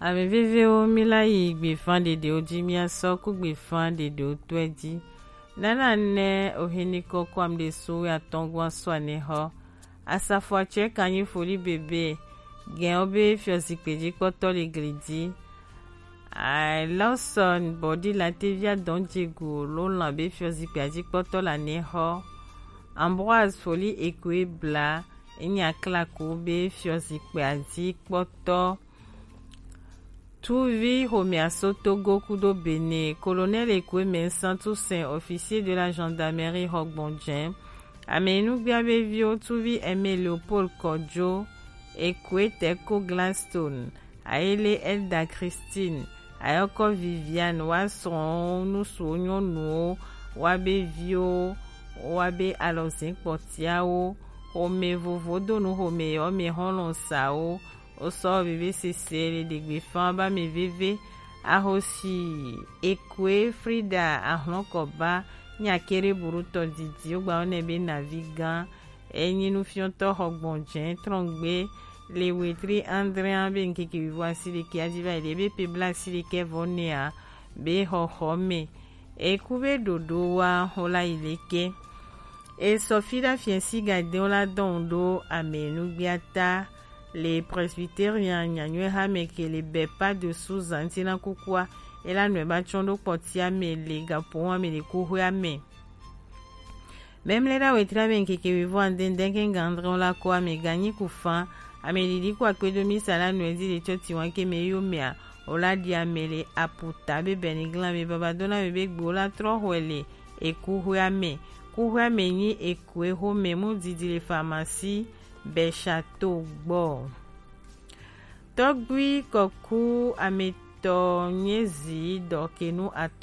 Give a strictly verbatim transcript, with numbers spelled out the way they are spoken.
Ame vevewo, mi la yi gbefa ɖeɖewo ji, mi asɔ ku gbefa ɖeɖewo tɔe ji. Nana ne oheni kɔkɔ am ɖe su atɔngua sua ne xɔ. Asafo atsɔe kanyi foli bebe. Gɛn wo be fiɔ zikpe ji kpɔtɔ le gli ji. Ai, Lawson Bɔdi Latevia dɔn jegu lo lan be fiɔ zikpe ji kpɔtɔ la ne xɔ. Ambroise Foli Ekoe Bla, enya klaku be fiɔ zikpe ji kpɔtɔ. Tuvi xomɛa so Togo kudo Bénin, Colonel Ekweme Santusen, officier de la gendarmerie Hɔgbɔnjɛn. Ame nugbia be viwo Tuvi Aimé Leopold Kɔjo, Ekwe Teko Gladstone, Ayele Elda Christine, Ayɔkɔ Viviane, wa srɔ̃wo, nusuwo nyɔnuwo, wa be viwo, wa be alɔzin kpɔtiawo, xome vovo do nu xome yɔ me xɔlɔ̃ sawo, Osɔ bebe sese le ɖegbe fan ba me veve. Ahosi Ekwe Frida Ahlɔkɔba nya kere burutɔ didi wogba wone be navi gã. Enyi nufiɔtɔ Hɔgbɔnjɛn trɔngbe le wetri Andrea be nkeke wivo asi ɖeke aji va yi ɖe be pe bla asi ɖeke vɔ nea be xɔxɔ me. Eku be ɖoɖo wa xo la yi leke. Esɔ fi ɖa fiɛ si ga dɛn wo la dɔn ɖo ame nugbiata. Le Presbyterian nyanyuɛ ha me ke le bɛ pa de su zanti na kukua, e la nɔɛ ba tsɔn ɖo kpɔtia me le gapo wa me le kuxɔa me. Mɛmlɛ ɖa wetri ame nkeke wivo ande ndɛn ke gandrɛ wo la ko ame ganyi ku fan, ame ɖiɖi ku akpedo misa la nɔɛ di le tsɔ tiwan ke me yo mea, wo la ɖi ame le aputa be bɛni glan me baba dona me be gbe wo la trɔ xɔe le ekuxɔa me. Kuxɔa me nyi eku exo me mu didi le pharmacie Bɛshato gbɔ. Tɔgbui kɔku ametɔ nye zi dɔkenu atɔ